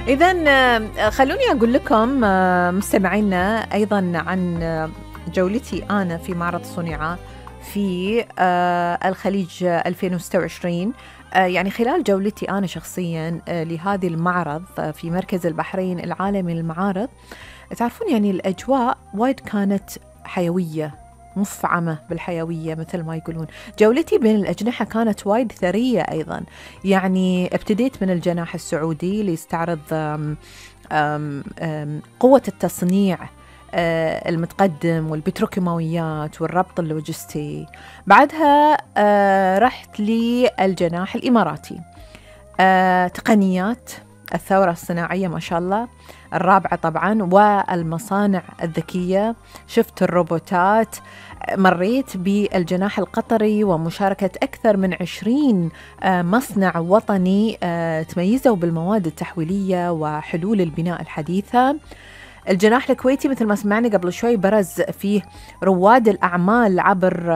إذن خلوني أقول لكم مستمعينا أيضا عن جولتي أنا في معرض صنعاء في الخليج 2026. يعني خلال جولتي أنا شخصيا لهذه المعرض في مركز البحرين العالمي للمعارض، تعرفون يعني الأجواء وايد كانت حيوية، مفعمة بالحيوية مثل ما يقولون. جولتي بين الأجنحة كانت وايد ثرية أيضا. يعني ابتديت من الجناح السعودي ليستعرض قوة التصنيع المتقدم والبتروكيماويات والربط اللوجستي. بعدها رحت للجناح الإماراتي، تقنيات الثورة الصناعية ما شاء الله الرابعة طبعا، والمصانع الذكية، شفت الروبوتات. مريت بالجناح القطري ومشاركة أكثر من 20 مصنع وطني تميزوا بالمواد التحويلية وحلول البناء الحديثة. الجناح الكويتي مثل ما سمعنا قبل شوي برز فيه رواد الأعمال عبر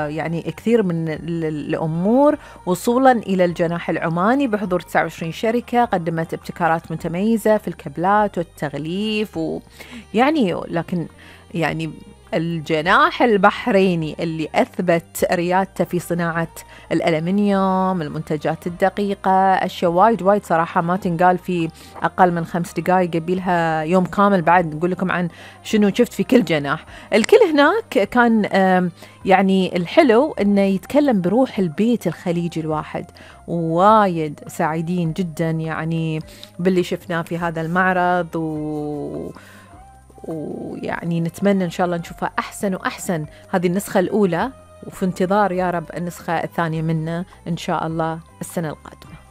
يعني كثير من الأمور، وصولا إلى الجناح العماني بحضور 29 شركة قدمت ابتكارات متميزة في الكابلات والتغليف يعني لكن يعني الجناح البحريني اللي أثبت ريادته في صناعة الألمنيوم، المنتجات الدقيقة، أشياء وايد صراحة ما تنقال في أقل من 5 دقائق، قبيلها يوم كامل بعد نقول لكم عن شنو شفت في كل جناح. الكل هناك كان يعني الحلو إنه يتكلم بروح البيت الخليجي الواحد. وايد سعيدين جدا يعني باللي شفناه في هذا المعرض، ويعني نتمنى إن شاء الله نشوفها أحسن وأحسن هذه النسخة الأولى، وفي انتظار يا رب النسخة الثانية منه إن شاء الله السنة القادمة.